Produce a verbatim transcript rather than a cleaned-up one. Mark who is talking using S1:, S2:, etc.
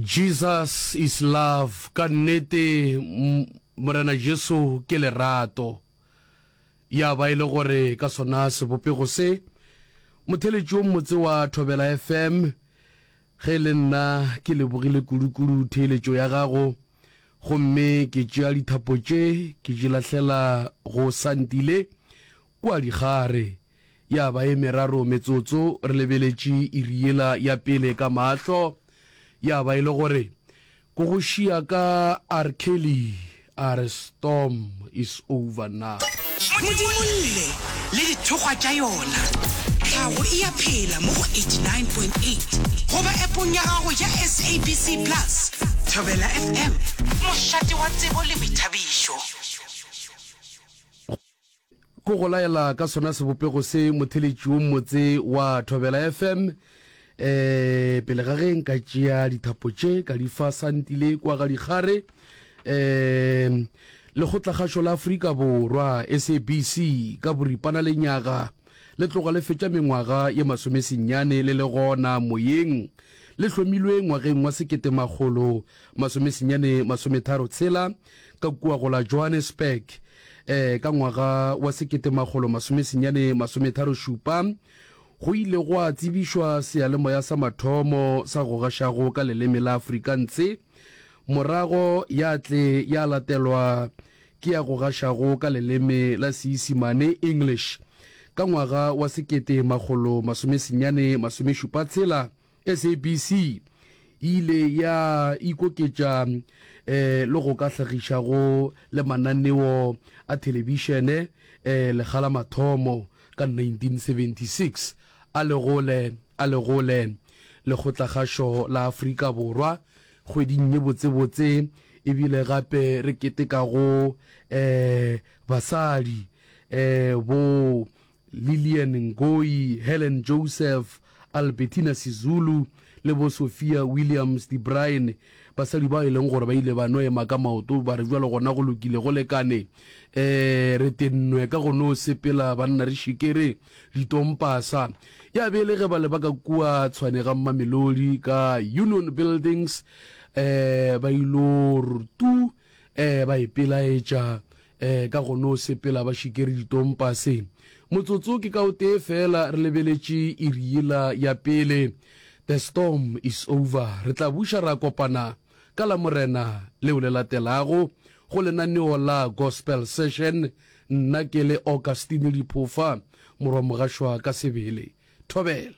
S1: Jesus is love, ka nnete Morena Jesu ke lerato. Ya ba e le gore ka sona sebopego se, motheletši wo mmotse wa Thobela F M, ge e le nna ke lebogile kudu-kudu theeletšo ya gago, gomme ke tšea dithapo tše ke di lahlela go Santile kua Dikgare. Ya ba e meraro metsotso re lebeletše iri yela ya pele ka mahlo. Ya ba e le gore ko go šia ka R. Kelly a re storm is over now.
S2: Modimolle le dithokgwa tša yona. Tlhago e a phela mo go eighty-nine point eight goba appong ya gago ya S A B C Plus. Thobela F M, mošate wa tsebo le boithabišo.
S1: Ko go laela ka sona sebopego se, motheletši wo mmotse wa Thobela F M, eh pele ga ge nka tšea dithapo tše ka di fa Santile kwa ga Dikgare, eh Lekgotlakgašo la Afrika Borwa, S A B C ka boripana, lenyaga le tloga le fetša mengwaga ye masomesenyane le le gona moyeng. Le hlomilwe ngwageng wa sekete makgolo masomesenyane masometharo tshela ka kua go la Johannesburg. eh ka ngwaga wa sekete makgolo masomesenyane masometharo šupa go ile gwa tsebišwa seyalemoya sa mathomo sa go gašago ka leleme la Afrikaans, morago ya tle ya latelwa ke ya go gašago ka leleme la Seisimane, English. Ka ngwaga wa sekete makgolo masomesenyane masomešupa tshela S A B C e ile ya ikoketša um le go ka hlagišago le mananeo a thelebišene um lekga la mathomo ka nineteen seventy-six a legole a legole Lekgotlakgašo la Afrika Borwa kgweding ye botsebotse, ebile gape re ketekago um basadi um bo Lillian Ngoyi, Helen Joseph, Albertina Sisulu le bo Sophia Williams de Bruyn, basadi ba e leng gore ba ile ba no ema ka maoto ba re jalo gona go lokile, go lekane, um re tennwe ka go no sepela banna re šikere ditompasa. Ya be le ge ba le ba ka kua Tshwane ga Mamelodi ka Union Buildings, um ba ilo tu um ba ipelaetša um ka go no sepela ba šikere ditompase. Motsotso ke ka o tee fela re lebeletše iri yela ya pele. The storm is over. Re tla buša ra kopana ka la Morena leo le latelago go lenaneo la Gospel Session, nna ke le Augustine Diphofa, morwa Mogašwa ka sebele. Thobela.